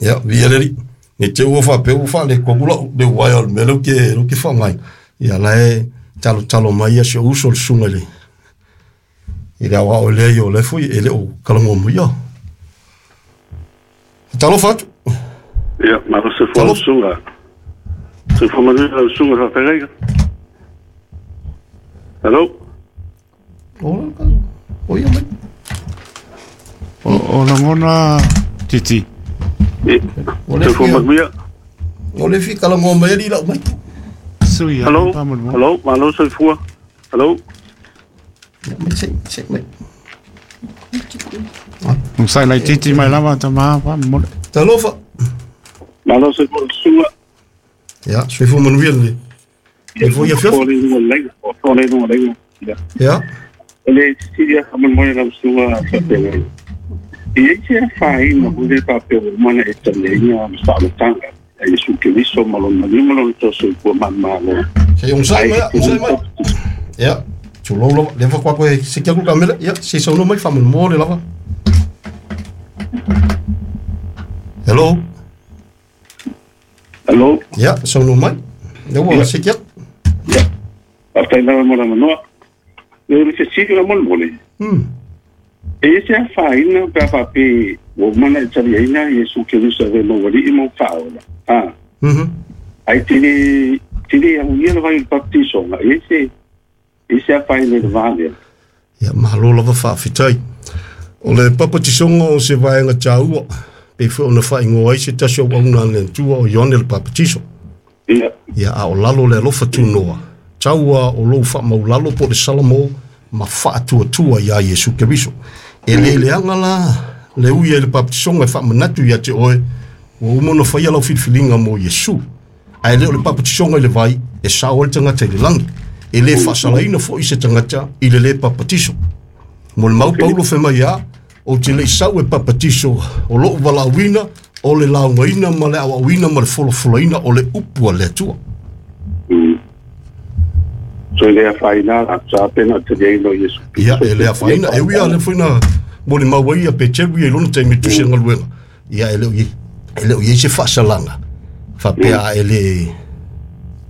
Ia, viia le Alii. Ne i te i ua faapea ua faaletonu lau le uaea o le mea lea ou te faaaogaina. Ia la e talotalo mai si ou uso le susuga i le aoao lea, o lea foi e le o talanoa mai. Ia. Talofa atu. Ia, malo soifua lau susuga. Soifua manuia lau susuga faafeagaiga. Hello. O ia mai. O lagona Titi. Soifua manuia. O le fi talanoa mai ali lau mai. Sui. Hello. Hello, malo soifua. Hello. Mai se se mai. Sai lai Titi mai lava ta ma pa mo. Talofa. Malo soifua susuga. Ia, soifua manuia le. E foi a fiofi. Ia. Le sili a faamolemole lau susuga faafeagaiga. E i ai se afaina foi lea faapea ua uma ona e taliaina le faaolataga a Iesu Keriso ma lona maliu ma lona tosoifua manumalo. Se onosai mai, onosai mai. Ia, tulou lava. Lea faatoa toe seki atu le kamela. Ia, se i saunoa mai faamolemole lava. Hello. Hello. Ia, saunoa mai. Lea ua seki atu. Ia. Faafetai lava mo le avanoa. O le fesili faamolemole. E i ai se afaina pe a faapea ua uma ona e taliaina Iesu Keriso e avea ma ou alii ma ou faaola, a, ae te le, te le aulia le vai o le baptisoga, e i ai se, e i ai se afaina i le va lea? Ia, malo lava faafetai. O le papatisoga o se vaega taua, pei foi ona faaigoa ai se tasi o auauna a le Atua o Ioane le Papatiso. Ia. Ia, a o lalo le alofa tunoa, taua o lou faamaulalo po o le salamo ma faatuatua iā Iesu Keriso. E le leaga la le ui ai le papatisoga e faamanatu ia te oe, ua uma ona faia lau filifiliga mo Iesu. Ae le o le papatisoga i le vai e sao ai le tagata i le lagi. E le faasalaina foi se tagata i le lē papatiso. Mo le mau Paulo fai mai a, ou te le i sau e papatiso o lou valaauina, o le laugaina ma le aoaoina ma le folafolaina o le upu a le Atua. So e le afaina la sa pe na te lei no Iesu. Ia, e le afaina. E ui a le foi na molimau ai ia Peteru ia i lona taimi tusi galuega. Ia, e le o i, e le o i ai se faasalaga faapea a e le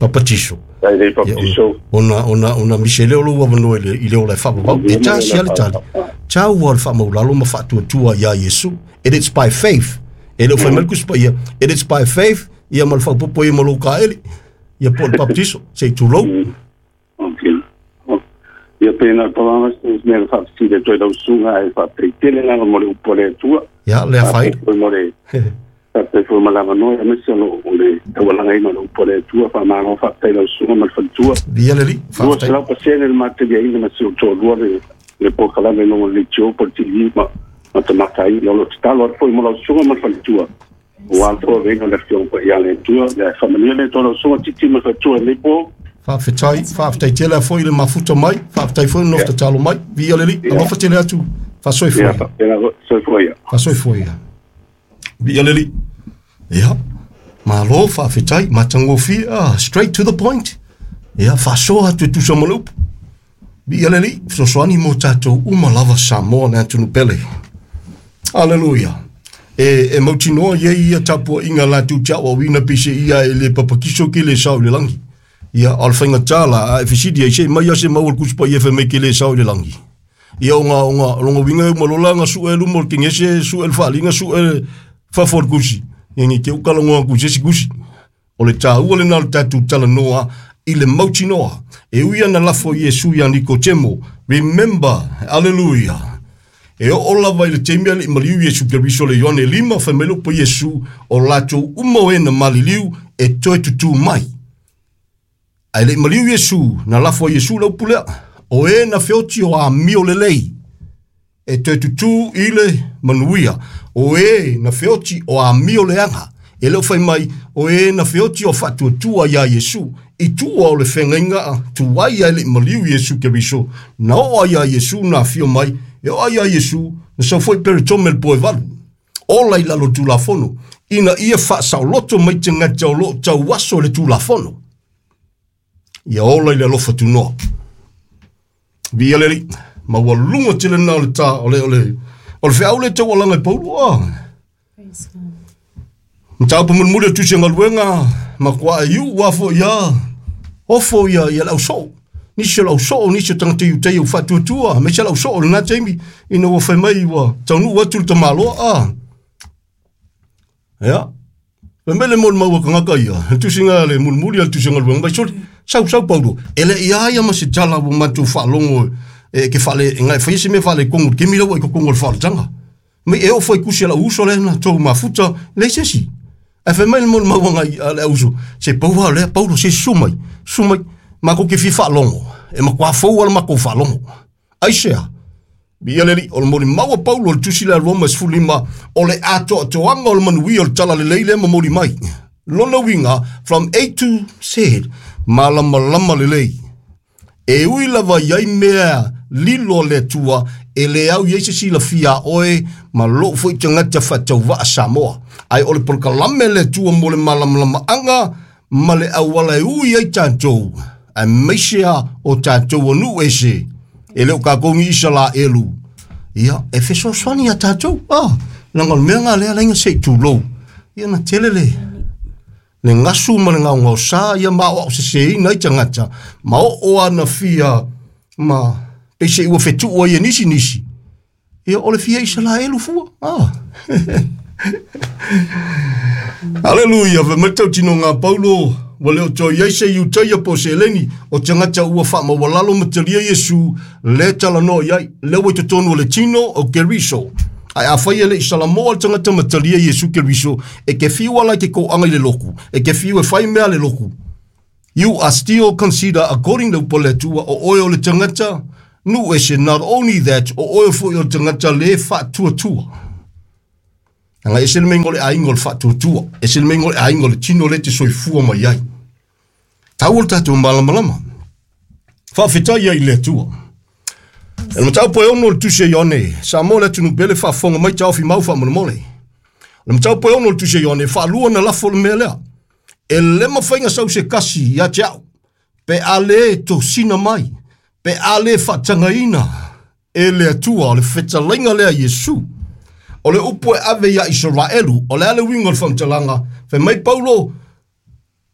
papatiso. Ai le papatiso. Ona misi ai lea o lou avanoa i le ola e faavavau. E tasi lava le tali. Taua o le faamaulalo ma faatuatua iā Iesu. It is by faith. E le o fai mai le Tusi Paia, it is by faith, ia ma le faaopoopo ia ma lou kaeli, ia po o le papatiso, se i tulou. Okay. Ia pena pa lava se mea na faafesili atu ai lau susuga ae faafetai tele lava mo le upu a le Atua. Ia, le afaina. Faafetai foi mo le faafetai foi mo le avanoa aemaise o le taualagaina o le upu a le Atua. Faamalo faafetai lau susuga ma le faletua. Viia le Alii. Faafetai. 200% le mataliaina ma si ou toalua le polokalame i luga o le leitio po o le TV ma matamata ai. Ia o lo o tatalo atu foi mo lau susuga ma le faletua aua le tauaveina o le Afioga Paia a le Atua. Ia faamanuia le Atua i lau susuga Titi ma le faletua i lenei po. Faafetai, faafetai tele foi le mafuta mai, faafetai foi le nofo tatalo mai. Viia le Alii, alofa tele atu, faasoifua ia. Faapena foi, soifua ia. Faasoifua ia. Viia le Alii. Ia, malo, faafetai, matagofie, ah, straight to the point. Ia, faasoa atu e tusa ma le upu. Viia le Alii, fesoasoani mo tatou uma lava Samoa le atunuu pele. Aleluia. E mautinoa i ai ia tapuaiga latou te aoaoina pei ia e le papatiso ke le sao i le lagi. Ia, a o le faigata la, a e fesili ai, se i mai a se mau o le Tusi Paia fai mai ke le sao i le lagi. Ia, o lona uiga e uma loa la ona sue luma o le kegese, sue le faaaliga, sue fafo o le tusi. Ia, ne i te i ua talanoa atu i se isi tusi. O le taua lena o le tatou talanoa i le mautinoa. E ui ana lafo Iesu iā Nikotemo, remember, aleluia. E oo lava i le taimi a le i maliu Iesu Keriso le Ioane 5, fai mai le upu a Iesu, o latou uma o e na maliliu e toe tutū mai. Ae le i maliu Iesu, na lafo ai Iesu le upu lea, o e na feoti o amio lelei, e toe tutū i le manuia, o e na feoti o amio leaga. E le o fai mai, o e na feoti o faatuatua iā Iesu, i tua o le feagaiga tuai ae le i maliu Iesu Keriso, na oo ai iā Iesu na afio mai, e oo ai iā Iesu, na sau foi Peretome le po e valu. Ola i lalo o le Tulafono, ina ia faasaoloto mai tagata o lo o tauaso i le Tulafono. Ia ola i le alofa tunoa. Viia le Alii, maualuga tele lena o le ta, o le, o le, o le feau le taualaga i Paulo. Ah. Mataupu mulimuli o le Tusi o Galuega, matuai iu a foi ia ofo ia ia le ausoo. Nisi o le ausoo, nisi o tagata Iutaia ua faatuatua, aemaise le ausoo i lena taimi ina ua fai mai ua taunuu atu le tamaloa. A. Ia. Fai mai le molimau a tagata ia, le tusiga a le mulimuli a le Tusi o Galuega, mai soli, sau sau Paulo, e le i a ia ma se tala ua matou faalogo e ke faale, e ngai faia se mea faaletonu i le taimi lea ua i totonu o le faaolataga. Mai e oo foi i tusi a lau uso lea na tou mafuta, leai se isi. Ae fai mai le molimau a le auso, se pau lava lea, Paulo, se susu mai, susu mai, matou te fia faalogo, e matua fou lava le matou faalogo. Aisea? Viia le Alii, o le molimau a Paulo i le tusi lea a Roma 15, o le atoatoaga o le manuia o le talalelei lea e momoli mai. Lona uiga, from A to Z, malamalama lelei. E ui lava i ai mea lilo a le Atua, e le au i ai se silafia a oe ma lou foi tagata faatauvaa Samoa. Ae o le polokalame a le Atua mo le malamalamaaga ma le auala e ui ai tatou, aemaise a o tatou o nuu ese, e le o tatou ni Isalaelu, ia, e fesoasoani ia tatou. Ah, leaga o le mea lena lea laina se i tulou. Ia na tele le le gasu ma le gaogaosa ia ma aoaoseseina ai tagata, ma oo ana fia ma peiseai ua fetuu ai e nisi nisi, ia o le fia Isalaelu fua. Ah. Aleluia, fai mai le tautinoga a Paulo, ua le o toe i ai se Iutaia po o se Eleni, o tagata ua faamaualalo ma talia Iesu, lea talanoa i ai, lea ua i totonu o le tino o Keriso. Ae afai e le i Salamoa le tagata ma talia Iesu Keriso, e te fiu ala i te toaga i le lotu, e te fiu e fai mea a le lotu. You are still consider according le upu a le Atua, o oe o le tagata nuu ese, not only that, o oe foi o le tagata le faatuatua. Leaga e ese le mea o le aiga o le faatuatua, ese le mea o le aiga o le tino lea e te soifua mai ai. Taua le tatou malamalama. Faafetai ai i le Atua. E le mataupu e 6 o le Tusi a Ioane, Samoa le atunuu pele faafofoga mai taofi mau faamolemole. O le mataupu e 6 o le Tusi a Ioane, faalua na lafo le mea lea. E le mafai na sau se kasi ia te au, pe a le tosina mai, pe a le faatagaina e le Atua. O le fetalaiga lea a Iesu. O le upu e ave ia Isaraelu, o le a le uiga o le faamatalaga? Fai mai Paulo,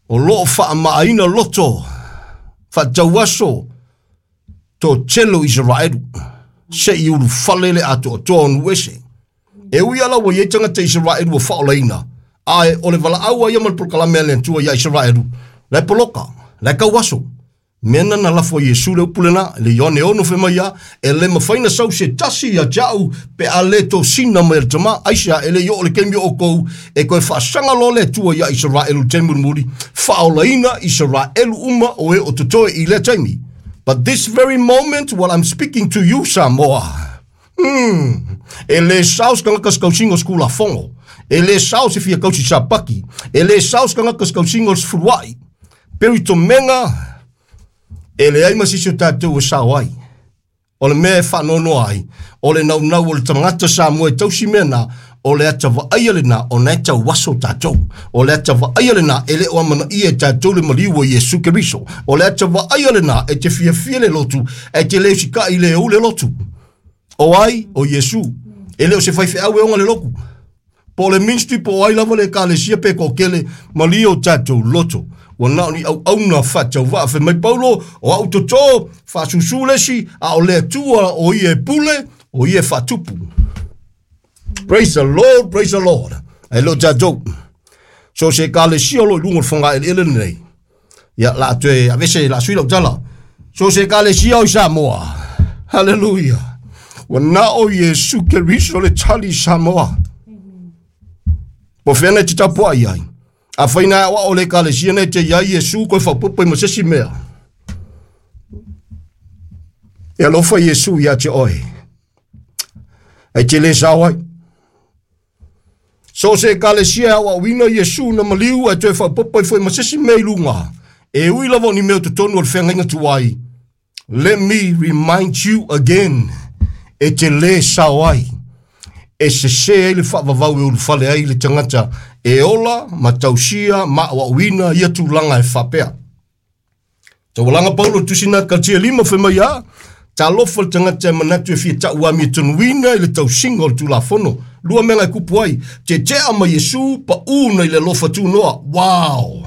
o lo o faamaaina loto, faatauaso, toatele o Isaraelu, se i ulufale le atoatoa o nuu ese. E ui lava ua i ai tagata Isaraelu ua faaolaina, ae o le valaau a ia ma le polokalame a le Atua ia Isaraelu, la e poloka, la e tauaso. Mea na na lafo ai Iesu le upu lena, le Ioane 6 fai mai ia, e le mafai na sau se tasi ia te au pe a le tosina mai e le Tama. Aisea, e le i oo le taimi o outou e toe faasaga loa le Atua ia Isaraelu i le taimi mulimuli, faaolaina Isaraelu uma o e o totoe i lea taimi. But this very moment while I'm speaking to you Samoa, e le sao se tagata se tausiga o se Tulafono, e le sao se fia tausi Sapati, e le sao se tagata se tausiga o le sefuluai, Peuitomega, e leai ma se isi o tatou e sao ai. O le mea e faanoanoa ai, o le naunau o le tagata Samoa e tausi mea na, o le ata vaaia lena ona e tauaso tatou. O le ata vaaia lena e le o amanaia e tatou le maliu o Iesu Keriso. O le ata vaaia lena e te fiafia le lotu, e te le usikai le ou le lotu. O ai? O Iesu. E le o se faifeau e oga le lotu. Po o le ministry po o ai lava le ekalesia pe toatele, malie o tatou loto. Ua na o ni auauna faatauvaa. Fai mai Paulo, o au toto, faasusu le isi, a o le Atua o ia e pule, o ia e faatupu. Praise the Lord, praise the Lord. Ae le o tatou. So se ekalesia o lo o i luga o le fogaeleele lenei, ia, la a toe avese, la a sui lau tala. So se ekalesia o i Samoa. Hallelujah. Ua na o Iesu Keriso le tali i Samoa. Po fea nei te tapuai ai. A whai nā o le ekalesia nei te iai Iesu koe whapopo i ma se si mea. E alofa Iesu ia te oe. Ai te le sao ai. So se ekalesia e aoaoina Iesu na maliu ae toe faaopoopo ai foi ma se isi mea i luga, e ui lava o ni mea o totonu o le feagaiga tuai, let me remind you again, e te lē sao ai, e sesē ai le faavavau e ulufale ai le tagata e ola ma tausia ma aoaoina ia tulaga e faapea. Taualaga Paulo i le tusi na Galatia 5 fai mai a, Talofa le tagata e manatu e fia tauamia tonuina i le tausiga o le Tulafono. Lua mea e kupu ai. Tietia ma Iesu pa u nei le lofa tunoa. Wow.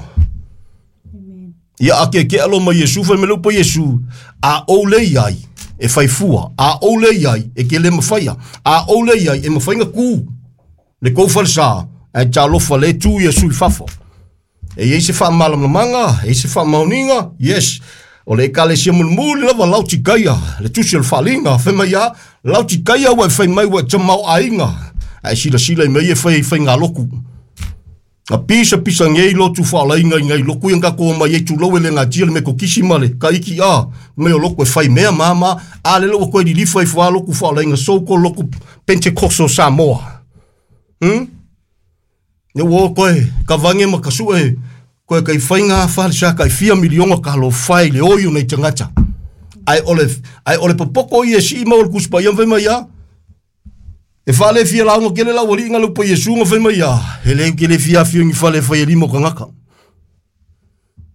Ia ake ke alo ma Iesu fai mele upa Iesu. A ou le iai e faifua. A ou le iai e ke le mafaia. A ou le iai e mafainga ku. Le kou falsa. Ai ta alofa le tu Iesu i fafo. E iei se faamalamalamaga, e iai se faamaoniga, yes. O le ekalesia mulimuli lava Laotikaia, le tusi o le faaliga, fai mai a, Laotikaia ua e fai mai ua e tamaoaiga, ae silasila i mea ia e fai ai faigaloku. Na pisapisa nei lotu faalaina i nai loku ia na tatou omai ai tulou e le natia le metotisi ma le kaiki a mea o loku e fai mea ma ma a lele ua toe lilifa ifo a lotu faalaina so called lotu Pentecostal Samoa. Ne ua o koe kavange ma kasue koe kai whainga whare sa kai fia miliona ka lo whai le oi o nei tangata. Ai ole ai ole popoko i e si ma o le kuspa ia whai mai a. E whale fia launga kele lau ali inga lupa Yesu nga whai mai a. He leu kele fia fio ngi whale whai e lima o kangaka.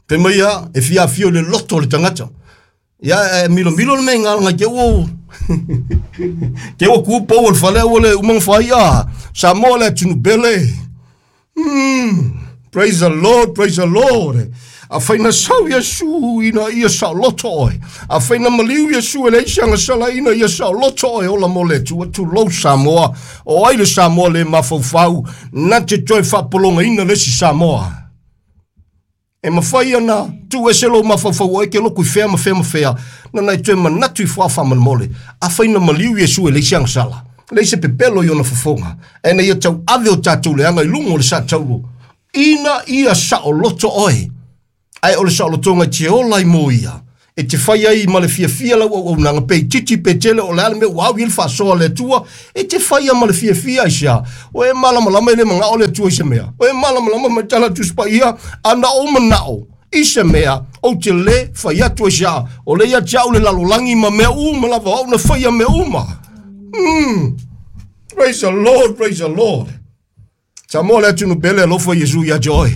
Whai mai a, e fia fio le loto le tangata. Ia e milo milo le mea ngai ke ua ke ua ku pou o le fale ua le umanga whai a. Samoa le atunu bele. Praise the Lord, praise the Lord. A whaina sau Iesu ina ia sao loto oe. A whaina maliu Iesu e le isi anga sala ina ia sao loto oe ola mo le tu atu lou Samoa. O ai le Samoa le mafaufau. Na te toe whapolonga ina le si Samoa. E mawhai ana, tu ese lou mafaufau oe ke loku i whea ma whea ma whea. Na nai toe manatu i wha whamanmole. A whaina maliu Iesu e le isi anga sala. Le isi pepelo i ona fofonga. E na ia tau ave o tātou le anga i lungo o le sa tauro. Ina ia sao loto oe. Ai o le sao lotonga te ola i mo ia. E te whai ai ma le fia fia lau au au nanga pe titi pe tele o le ale me wau i le whasoa le atua. E te whai a ma le fia fia i sea. O e malamalama i le manga o le atua i se mea. O e malamalama mai tala tuspa ia ana o manao i se mea o te le whai atu i sea. O le ia te au le lalolangi ma mea uma lava au na whai a mea uma. Praise the Lord, praise the Lord. Samoa le atunu pele alofa Iesu ia te oe.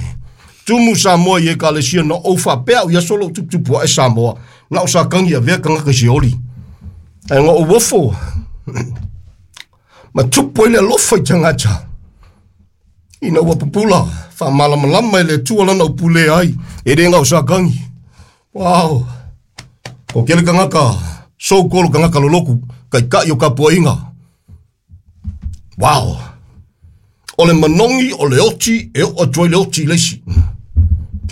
Tumu Samoa i ekalesia na ou whapea o ia solo tuputupu e Samoa. Na o sa kangi a vea kangaka se oli. Ai ngā o wofo. Ma tupu ele alofa i tangata. Ina ua pupula, whamalamalama ele tua lana upule ai. E re ngā o sa kangi. Wow. Ko kele kangaka, so kolo kangaka loloku, kai kai o kapua inga. Wow. O le manongi o le oti e o atuai le oti i leisi.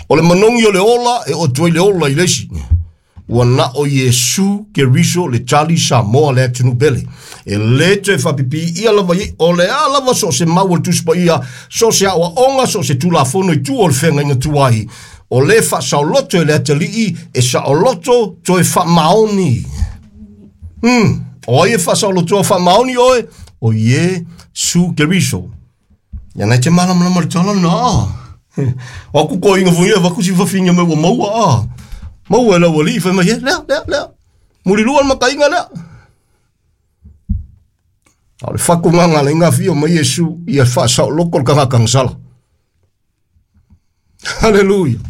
O le manongi o le ola e o atuai le ola i leisi. Ua na o Iesu Keriso le tali Samoa le atunu pele. E le toe whapipi ia lava i o le a lava so se mau o le tuspa ia, so se awa onga, so se tulafono i tu o le whenga inga tuai. O le wha saoloto e le atalii e saoloto toe wha maoni. O ai e wha saoloto wha maoni oe, o Iesu Keriso. Ia nei te malamalama le tala na. O aku ko inga fuia, waku si wawhinga me ua maua a. Maua e lau ali, whai mai he, lea, lea, lea. Muri lua le makainga lea. O le whaku nganga le inga whio mai Iesu, ia wha sao loko le kanga kangasala. Hallelujah.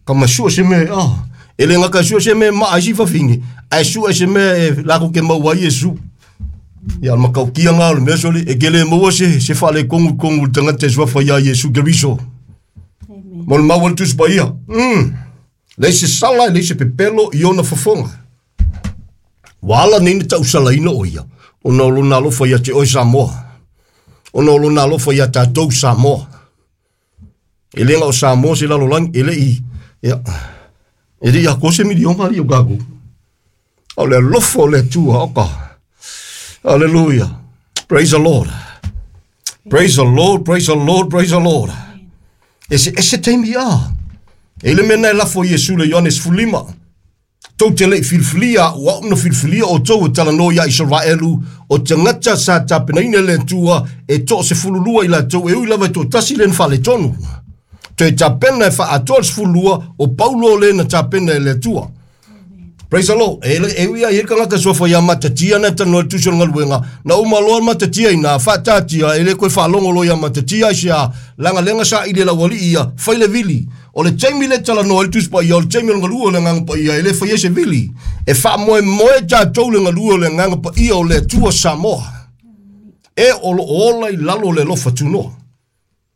Ka masua se me, ah. E le ngaka sua se me ma ai si wawhingi. Ai sua se me e lako ke maua Iesu. Ia makau kia ngā o le mea soli, e kele maua se whale kongu kongu le tangata e suafa ia Iesu Keriso. Mo le maua le tusi pa ia. Le se sala, le se pepelo i ona fofonga. Wala nei na tau salaina o ia. Ona o lona alofa ia te oe Samoa. Ona o lona alofa ia tātou Samoa. E lenga o Samoa se lalolangi, e le i, ia, e le i a kose milionga li o kākou. O le alofa o le Atua, oka. Hallelujah. Praise the Lord. Praise the Lord, praise the Lord, praise the Lord. E se taimi a. E le mea e lafo Iesu le Ioane 15. Tou te lei filfilia, ua au na filfilia o tou e talanoa ia Israelu, o tagata sa tapenaina le Atua e 12 i latou e ui lava e toatasi le na faaletonu. Toe tapena e faatoa le 12 o Paulo le na tapena e le Atua. Praise the Lord. E le e ui ai e kangaka suafa ia matatia na tanoa le tusi o le galuega. Na uma loa le matatia ina faatatia e le koe faalogo loa ia matatia ai sea lagalega sa i le laualii ia fai le vili. O le taimi le talanoa i le tusi paia o le taimi o le galue o le agaga paia e le faia se vili. E faamoemoe tatou le galue o le agaga paia o le Atua Samoa. E o lo ola i lalo le alofa tunoa.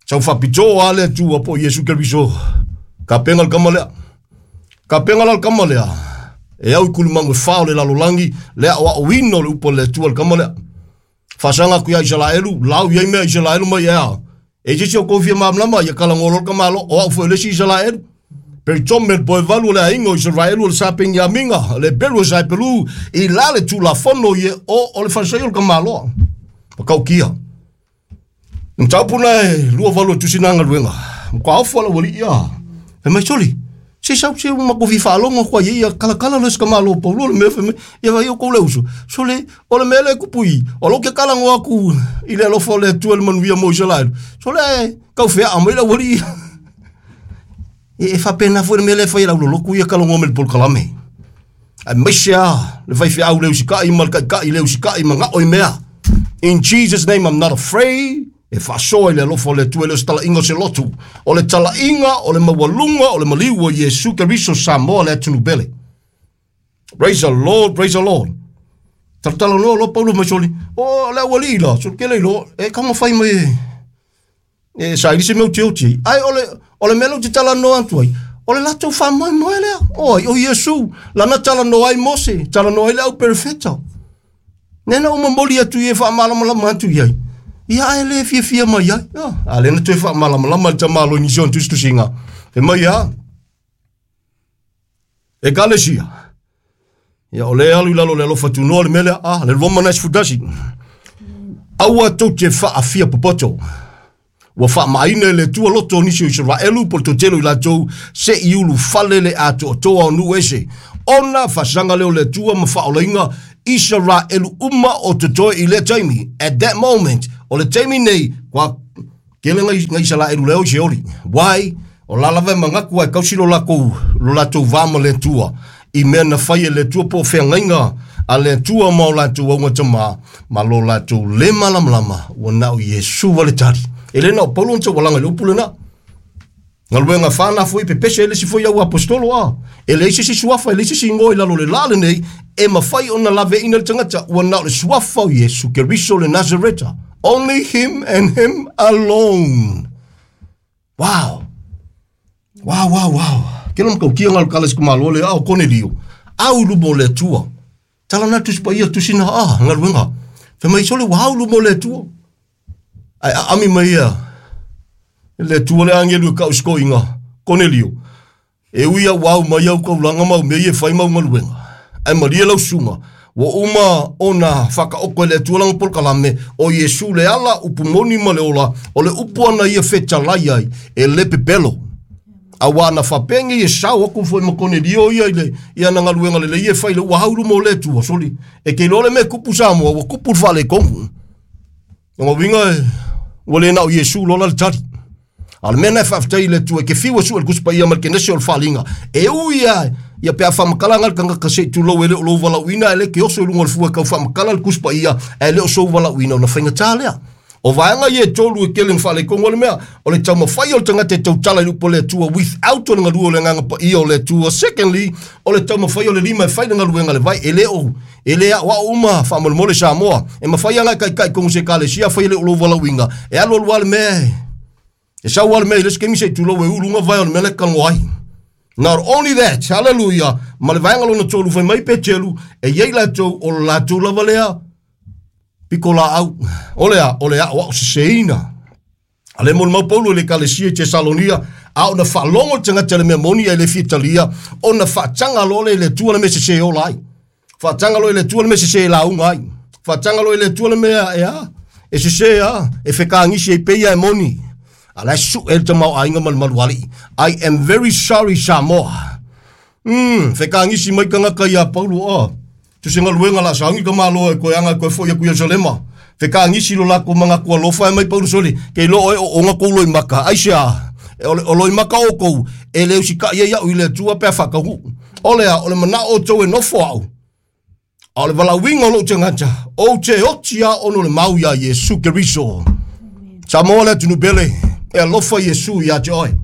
Sau faapitoa a le Atua po o Iesu Keriso. Kapenga le kama lea. Kapenga la le kama lea. E au i kulumagu e fa o le lalolagi le aoaoina o le upu a le Atua le kama lea. Faasaga atu ia Isaraelu, lau i ai mea Isaraelu mai ea. E se isi o kou fia malamalama, ia kalagoa loa le tamaloa, o au foi o le isi Isaraelu. Peritome le poevalu o le aiga o Isaraelu o le sa Peniamina, le Heperu o sa Hepelu, i la le Tulafono ie o o le falesai o le tamaloa. Matautia. Le mataupu na e 28 o tusi na galuega. Matua ofo le aualii ia. Fai mai, Soli, se sau se matou fia faalogo atu ai ia kalakala loa si tamaloa o Paulo le mea fai mai, ia vai outou le uso. Sole, o le mea lea e kupu i, o lou ke talanoa atu i le alofa o le Atua i le manuia mo Isaraelu. Sole, ae tau feaa mai le aualii ia. E faapena foi le mea lea e fai e le aulolotu ia talanoa mai i le polokalame. Aemaise lava le faifeau le usikai ma le taitai le usikai manao i mea. In Jesus name I'm not afraid. E faasoa i le alofa o le Atua e le o se talaiga o se lotu. O le talaiga o le maualuga o le maliu o Iesu Keriso Samoa le atunuu pele. Praise the Lord, praise the Lord. Talatala loa loa Paulo mai soli. O le aualii la, soli kele iloa, e taumafai mai e e saili se mea utiuti ai. Ai o le, o le mea lea ou te talanoa atu ai, o le latou faamoemoe lea. O ai, o Iesu, lana talanoa ai Mose, talanoa ai le au perofeta. Nena ou momoli atu i e faamalamalama atu i ai. Ia ae le fiafia mai ai. Ah, a lea na toe faamalamalama le tamaloa i nisi o ana tusitusiga. Fai mai a, Ekalesia. Ia o le alu i lalo o le alofa tunoa le mea lea, ah, le 21. Aua tou te faafia popoto. Ua faamaaina e le Atua loto o nisi o Isaraelu po o le toatele o i latou se i ulufale le atoatoa o nuu ese, ona faasaga lea o le Atua ma faaolaina Isaraelu uma o totoe i lea taimi. At that moment, o le taimi nei, kua tele ngai, ngai Isaraelu lea o i Seoli. Why? O la lava e manatu ae tausi lo latou, lo latou va ma le Atua i mea na fai e le Atua po o feagaiga a le Atua ma o latou augatama ma lo latou le malamalama ua na o Iesu wale tali. E le na o Paulo na taualaga i le upu lena. Galuega fa na foi pepese e le isi foi au apostolo a. E leai se isi suafa, e leai se isi igoa i lalo o le la lenei e mafai ona laveaiina le tagata ua na o le suafa o Iesu Keriso le Nazareta. Only him and him alone. Wow! Wow, wow, wow. Kela matautia ngā kala si kumalo le ao Konelio. Au lumo le Atua. Tala na tusi paia tusi na a, ngaluenga. Fai mai sole ua au lumo le Atua. Ai a ami mai ia. Le Atua le angelu e kau sikoinga. Konelio. E ui au au mai au kaulanga mau mea ia e fai mau galuega, ae malie lau susuga, ua uma ona whakaoko e le Atua lana polokalame, o Iesu le ala, upu moni ma le ola, o le upu ana ia fetalai ai, e le pepelo. Auā na faapea nei e sao aku foi ma Konelio ia i le i ana galuega lelei e fai le ua haulu mo le Atua, soli, e ke iloa le mea e kupu Samoa, ua kupu le faaletonu. Lona uiga e, ua le na o Iesu loa la le tali. A o le mea lena e faafetai i le Atua, e ke fiu e sue le Tusi Paia ma le Kenese o le Faaaliga, e ui lava ia pe a faamatala ana le tagata se i tulou e le o lou valaauina, ae le ke oso i luga o le fua e tau faamatala le Tusi Paia, ae le o sou valaauina, ona faigata lea. O vaega ia e tolu e tele na faaletonu ai le mea, o le taumafai o le tagata e tautala i le upu a le Atua without o le galue o le Agaga Paia o le Atua. Secondly, o le taumafai o le lima e fai le galuega a le vai, e le o E le aoao uma faamolemole Samoa. E mafai lava ona e taitai tonu se ekalesia afai e le o lou valaauina, e alualu lava le mea e sau lava le mea i le isi taimi se i tulou e ulu luga vae o le mea la e talanoa ai. Not only that, hallelujah, ma le vaega lona tolu fai mai Peteru, e i ai latou o le latou lava lea pitolaau, o le a, o le aoao seseina. A le molimau Paulo i le ekalesia i Tesalonia, a ona faalogo le tagata i le mea moni ae le fia talia, ona faataga loa lea i le Atua le mea sese e ola ai. Faataga loa i le Atua le mea sese e lauga ai. Faataga loa i le Atua le mea e a, e sese a, e fekagisi ai pei a e moni. A la e sue le tamaoaiga ma le malualii. I am very sorry Samoa. Fekagisi mai tagata iā Paulo, a, Tusi galuega la sauni ka malo e koe anga e koe foi aku Yerusalema. Fekagisi lo lako manatu alofa e mai Paulo soli, ke iloa oe o ona kou loimaka. Aisea? E o, o loimaka o kou, e le usikaʻi ai aʻu i le Atua pe a faataunuu. O le a, o le manaʻo o tou e nofo aʻu, a o le valaauina o lou tagata, ou te oti a ona o le mau iā Iesu Keriso. Samoa le atunuu pele, e alofa Iesu iā te oe.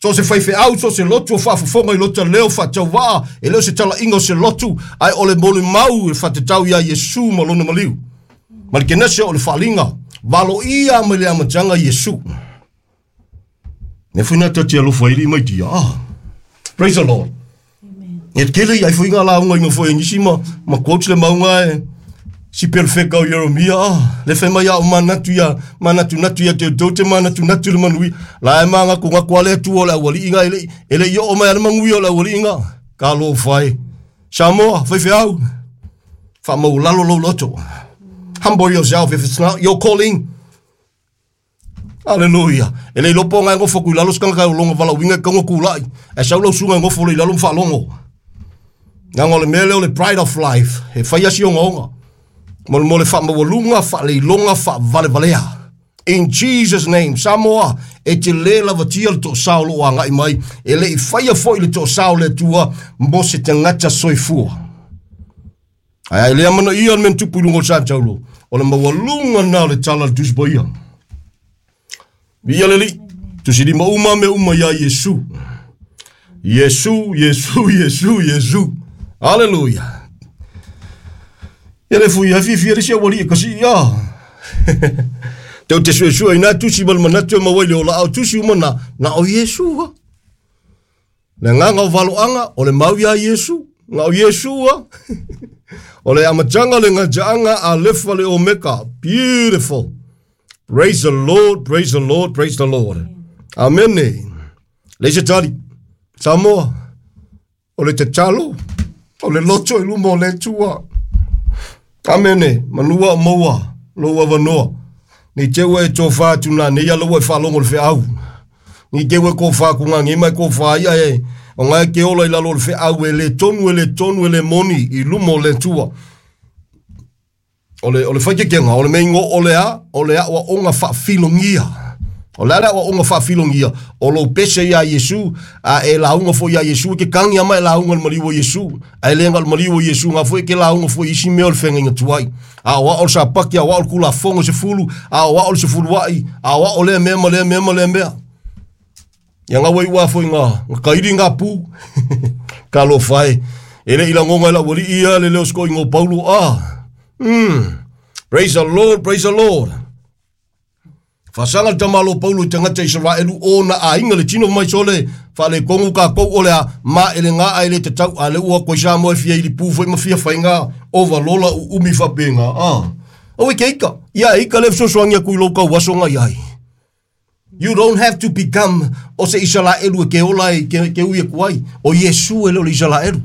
So o se faifeau, so o se lotu o faafofoga i lota leo faatauvaa, e le o se talaiga o se lotu, ae o le molimau e faatatau iā Iesu ma lona maliu. Ma le kenese o le faaliga, valoia mai le amataga Iesu. Ne foi na tati alofa ili mai tia. Ah. Praise the Lord. Amen. E kele i ai foi ngā launga i ngā foi nisi ma quotes le maunga e si perfeka o Jeremia. Ah, le fe mai au manatu ia, manatu natu ia te te manatu natu le manui. La e manga ko ngā kuale tu o le awali inga ele i o mai ale mangui o le awali inga. Ka lo whai. Samoa, whai whiau. Wha mau lalo lo loto. Humble yourself if it's not your calling. Hallelujah. E le lopo ngai ngofo ku lalo skanga ka longo vala winga ka ngoku lai. E sau lo sunga ngofo le lalo mfa longo. Ngango le mele o le pride of life. E whai asi onga onga. Mo mo le fa mawalunga fa le longa fa vale valea. In Jesus name, Samoa, e te le lava tia le to sao lo anga i mai. E le i whaia foi le to sao le tua mo se te ngata soifua. Ai ai le amana ia men tupu lungo sa taulo. O le mawalunga na le tala le tusboia. Via leli, tu si lima uma me uma ia Yesu. Yesu, Yesu, Yesu, Yesu. Hallelujah. Ia le fui afi fi risi wali kasi ia. Teu te sue sue ina tu si mal manatu ma wai le ola au tu si uma na o Yesu. Le nganga o valoanga o le mau ia Yesu. Nga o Yesu. O le amatanga le ngajaanga a lefa le omeka. Beautiful. Praise the Lord, praise the Lord, praise the Lord. Amen. Le se tali. Samoa. O le te talo. O le loto i luma o le tua. Amen. Manua o maua. Loa vanoa. Ni te ue tō whātu nā. Nei ala ue whalongo le wheau. Ni te ue kō whāku ngā. Ngi mai kō whāia e. O ngai ke ola i lalo le wheau e le tonu e le tonu e le moni i luma o le tua. O le whaikekenga, o le meingo o le a wa onga whawhilongia. O le a wa onga whawhilongia. O lo pese ia Yesu, a e launga fo ia Yesu, ke kangi ama e launga le maliu o Yesu. A e lenga le maliu o Yesu, ngā fo e ke launga fo isi meo le whenga inga tuai. A o a o le sapaki, a o a o le kula fongo se fulu, a o a o le se fulu ai, a o a o le mea ma le mea ma le mea. Ia ngā wai ua fo i ngā kairi ngā pū. Ka lo whai. E le ila ngonga ila wali ia le leo sko i ngō Paulo a. Praise the Lord, praise the Lord. Whasanga le tamalo Paulo i tangata Israelu o na a inga le tino mai sole whale kongu ka kou ole a ma ele ngā a ele te tau a le ua koi sa moe fia ili pū fwai ma fia whai ngā o valola u umi whapenga. Ah. O e ke ika. Ia ika le fsosoangia kui lau kau waso ngā iai. You don't have to become o se Israelu e ke ola e ke ui e kuai. O Yesu e le o le Israelu.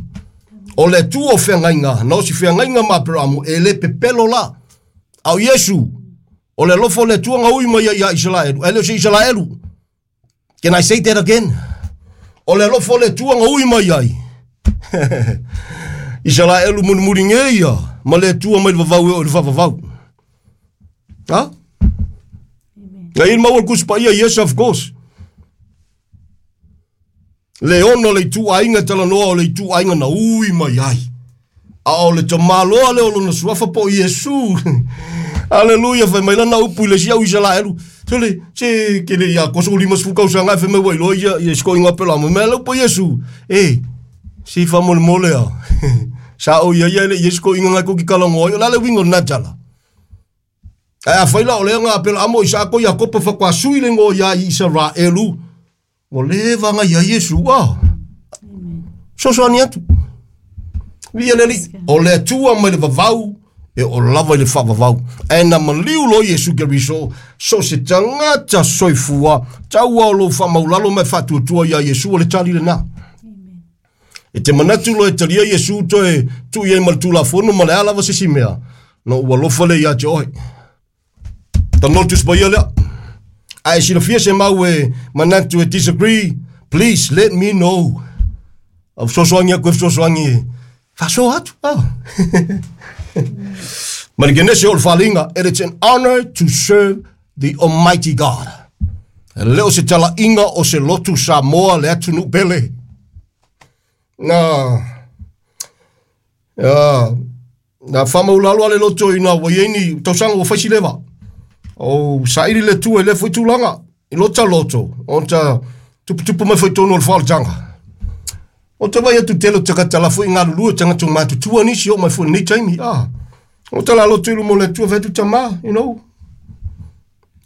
O le tu o whengainga, na o si whengainga ma peramu, e le pepelo la. Au Yesu, o le lofo le tuanga ui mai ia Israelu, e le o se Israelu. Can I say that again? O le lofo le tuanga ui mai ai. Israelu munumuri ngeia, ma le tua mai le vavau e o le vavavau. Ha? Ngai il maua kuspa ia, yes of course. Le ono le tu ainga talanoa o le tu ainga na ui mai ai. A o le tamaloa le o lona suafa po Yesu. Hallelujah, fai mai lana upu i le sia Israelu. Se se ke le ia koso lima sfuka usanga fai mai wai ia ia sko inga pela mo me le po Yesu. E si fa mo mole a. Sa o ia ia le Yesu ko inga ko ki kalango la le wingo na tala. A fai la o le nga pela amo isa ko ia kopa fa kwa sui le ngo ia Israelu. O le vanga ia Yesu a. Sosoani atu. Via leli. O le tua mai le vavau. E o lava i le whaavavau. E na maliu lo Yesu Keriso. So se tangata soifua. Taua o lo whamaulalo mai whatuatua ia Yesu o le tali le na. E te manatu lo e talia Yesu toe tu ia ma le tulafono ma le alava se si mea. No ua lofa le ia te ohe. Tanotus pa ia lea. Ai sila fia se mau e manatu e disagree, please let me know. Au sosoangi aku e sosoangi. Faso atu. Oh. Marigenese o le whalinga, it is an honor to serve the Almighty God. E leo se tala inga o se lotu Samoa le atunu pele. Na, na whamaulalo ale loto i nā waieni tausanga o whaisilewa. O sairi le tua e le fwai tūlanga. I lota loto. O ta tupu mai fwai tonu o le whalatanga. O te vai atu telo takatala fwai ngā lulua tanga tō mātu tua nisi o mai fwai nei taimi. Ah. O te lalo tulu mo le tua whetu tama, you know.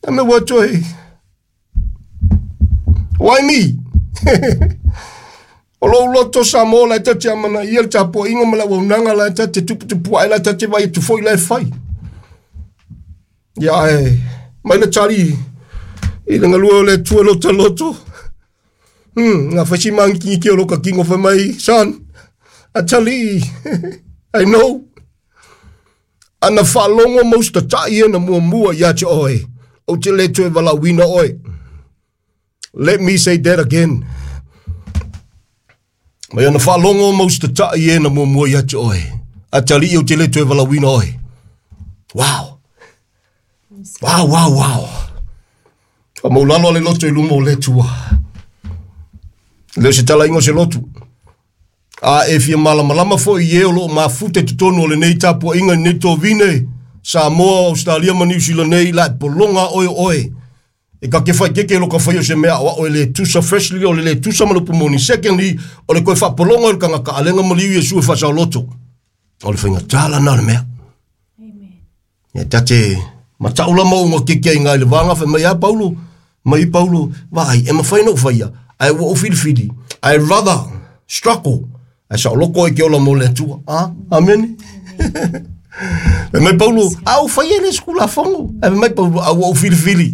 A me wā toi. Why me? O lou loto sa mō lai tate amana ia le tapo inga ma la waunanga lai tate tupu tupu ai lai tate vai tu foi lai fai. Ia e, mai le tari i le ngalua o le tua loto loto. Ngā whasi mangi ki o loka kingo whai mai, son, a tali, I know. Ana whaalongo mausta tai e na mua mua ia te oe. O te le toe walauina oe. Let me say that again. Mai ana whaalongo mausta tai e na mua mua ia te oe. A tali o te le toe walauina oe. Wow. Wow, wow, wow. A maulalo ale loto i luma o le tua. Leo se tala ingo se lotu. A e fia malamalama foi i e o loo mafute te tonu o le nei tapua inga nei tō vine. Samoa, Australia ma New Zealand nei la e polonga oe oe. E ka ke whai keke lo ka whai o se mea o le tusa freshly o le tusa malupu moni. Secondly, o le koe whapolonga o le kanga ka alenga maliu Yesu e whasao loto. O le whainga tala nā le mea. Amen. E tate mataula maunga keke ai ngai le vanga whai mai a Paulo. Mai Paulo, vai, e mawhai no whaia. Ai ua o whiriwhiri. I rather struggle. Ai sa oloko e ke ola mo le atua. Ah, amen. E mai Paulo, au whaia le skula whango. E mai Paulo, au ua o whiriwhiri.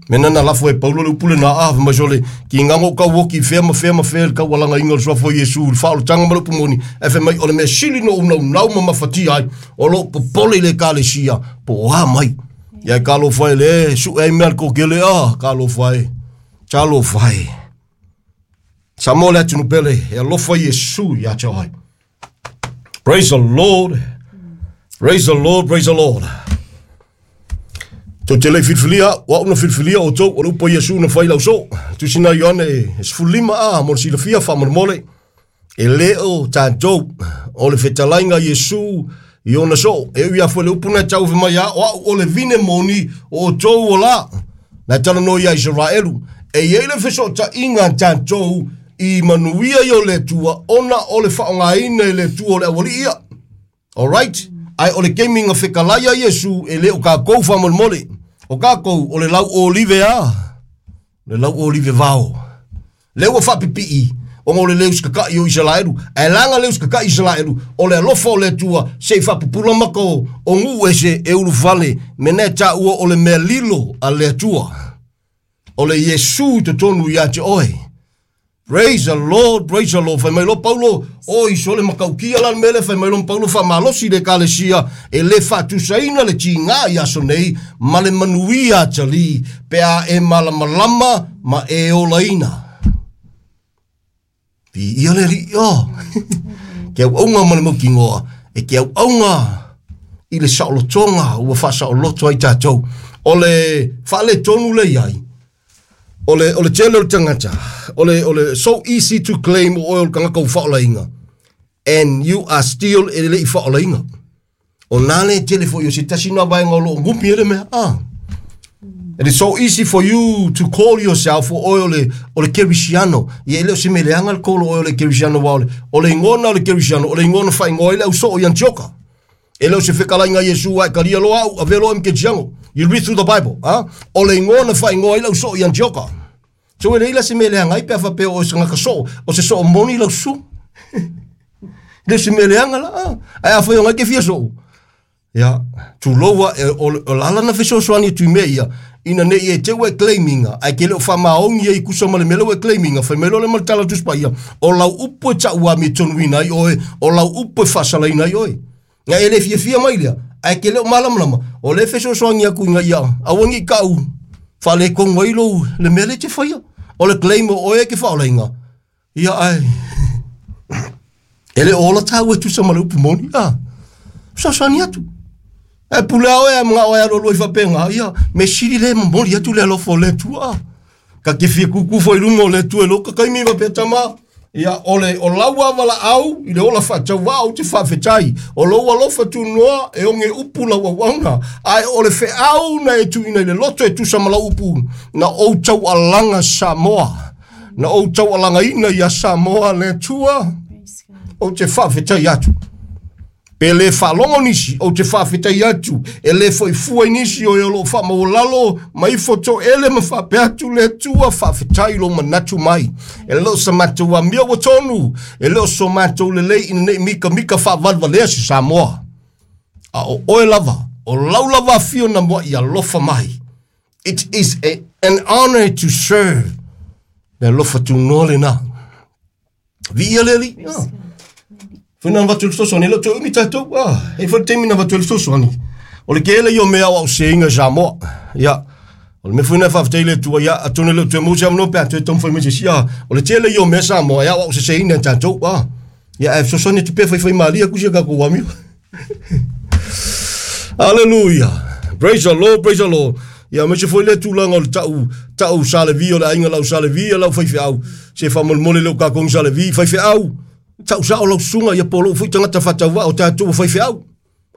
Mena na lafo e Paulo le upule na a mai sole ki ngango ka woki fea ma fea ma fea ka walanga inga so fo Yesu le fa tanga ma pumoni e fe mai o le me sili no una nau ma mafati ai o lo popole le kalesia po a mai ia ka lo fai le su e me ko kele a ka lo fai cha lo fai sa mo le atu pele e lo fai Yesu ia cha ai. Praise the Lord. Praise the Lord, praise the Lord. Tau te lei filfilia, wa una filfilia o tau, o le upo Yesu na whai lau so. Tusina Ioane e sefulima a, mo le silafia whamolemole. E leo tātou, o le fetalainga Yesu i ona so. E ui a fue le upu na tau mai a, o au o le vine moni o tau o la. Na tala no ia Israelu. E iei le feso ta inga tātou i manuia i o le tua, ona o le whaongaina i le tua o le awali ia. Alright? Ai o le keminga whekalaia Yesu e leo ka kou whamolemole. O kākou o le lau olive a. Le lau olive vao. Leo whapipii. O ngō le leu skaka'i o Israelu. E langa leu skaka'i Israelu. O le alofa o le tua. Se i whapupula maka o ngu ese e ulu fale. Mene tā ua o le mea lilo a le atua. O le Yesu te tonu ia te oe. Praise the Lord, praise the Lord. Whai mai lo Paulo, o i sole makaukia la mele, whai mai lo Paulo wha malosi le kalesia, e le whatusaina le tinga i aso nei, ma le manuia tali, pea e malamalama ma e olaina. Pi ia le ri, o. Ke au aunga ma le maukingoa, e ke au aunga i le saolotonga, ua wha saoloto ai tātou. O le whaale tonu le iai, o le tele o le tangata, o le so easy to claim o oe o le kangaka u whaolainga. And you are still e le i whaolainga. O nā le tele fo i o se tasi nā vaenga o lo ngumpi ele mea. Ah. It is so easy for you to call yourself o oe o le kerisiano. Ia ele o se meleanga le kolo oe o le kerisiano wa ole. O le ingona o le kerisiano, o le ingona whaingoa ile au so o i Antioka. Ele o se whekalainga Yesu ai karia loa au, a velo em ke jiango. You read through the Bible, ah? O le ingona whaingoa ile au so i Antioka. So ele ila se meleanga ai pe awhapea o se ngaka so, o se so moni lau su. Le se meleanga la, ah? Ai a whai o ngai ke fia so. Ia, tūloua e, o lala na fesoasoani e tui mea ia, ina ne i e te ue claiminga, ai ke leo whamaongi e i kusa ma le mele ue claiminga, whai melo le ma le tala tuspa ia, o lau upu e tau mi tonuina ai oe, o lau upu e whasalaina ai oe. Nga e le fia fia mai lea, ai ke leo malamalama, o le fesoasoani aku inga ia, awangi kau, whale kongo ai lou, le mele te whaia, o le claim o oe ke whaolainga. Ia ai, e le ola tau e tusa ma le upu moni, ah, fesoasoani atu. E pule au e mga oe alo loi whapenga, ia, me siri le mamoli atu le alofo le tua. Ka ke fia kuku fo i lunga o le tua e loka kai mi wapea tama. Ia, o le, o laua wala au, i le ola whatau au te whawhetai. O lau alofa tu noa, e onge upu lau auauna. Ai, o le wheau na e tu ina i le loto e tusa ma lau upu. Na ou tau alanga Samoa. Na ou tau alanga ina ia Samoa le tua. O te whawhetai atu. Pe le faalogo nisi, ou te faafetai atu, e le foi fua i nisi o e o loo faamaualalo ma ifo toele ma faapea atu le Atua, faafetai lou manatu mai. E le o sa matou amio ua tonu, e le o so matou lelei ina nei mikamika faavalevalea se Samoa. A o oe lava, o lau lava afio na muai alofa mai. It is an honor to serve. Le alofa tunoa lena. Viia le Alii. Ah. Foi na avatu le fesoasoani, e le o toe umi tatou. Ah, e foi le taimi na avatu ai le fesoasoani. O le tele ia o mea au seinga Samoa. Ia, o le mea foi na faafetai le Atua, ia, atonu e le o toe maua se avanoa pe a toe taumafai mai se isi. Ah, o le tele ia o mea Samoa e aoao seseina e tatou. Ah, ia, ae fesoasoani atu pea faifai malie atu si a tatou amio. Hallelujah. Praise the Lord, praise the Lord. Ia aemaise foi lea tulaga o le ta'u ta'u Sa Levi o le aiga lau Sa Levi ia lau faifeau. Se faamolemole le o kākou Sa Levi faifeau. Ta'u sa'o lau susuga ia po o lou foi tagata faatauvaa o tatou ua faifeau.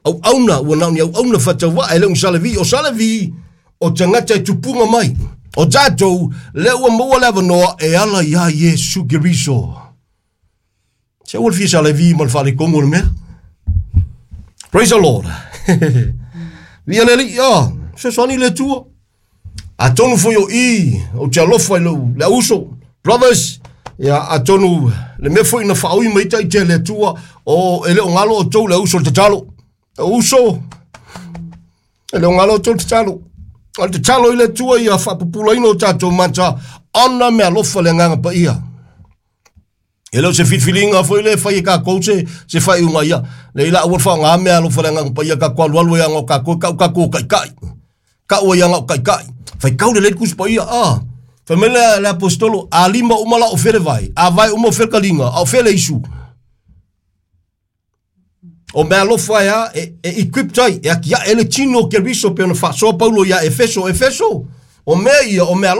Auauna ua na o ni auauna faatauvaa e le o ni Sa Levi. O Sa Levi o tagata e tupuga mai. O tatou lea ua maua le avanoa e ala iā Iesu Keriso. Se aua le fia Sa Levi ma le faaletonu o le mea. Praise the Lord. Viia le Alii, ah, fesoasoani le Atua. Atonu foi o i, ou te alofa i lou, le auso, brothers, ia, atonu le mea foi na faaui mai ita le Atua, o e le o galo outou le auso le tatalo. Uso, e le o galo outou le tatalo. O le tatalo i le Atua ia faapupulaina o tatou mata, ona me alofa le agaga paia. E le o se filifiliga foi le fai e kākou se, se faaiuga ia. Le ila aua le faaaoga mea alofa le agaga paia kākou alualu ai aga o kākou, kau kākou o taitai. Kau ai aga o taitai. Faitau lelei le Tusi Paia, ah. Fai mai le, le apostolo, a lima uma la o fele vai, a vai uma o fele kaliga, a o fele isu. O mea alofa e a, e, e equipped ai, e atiae le tino o Keriso pe ona faasoa Paulo ia Efeso, Efeso, o mea ia, o mea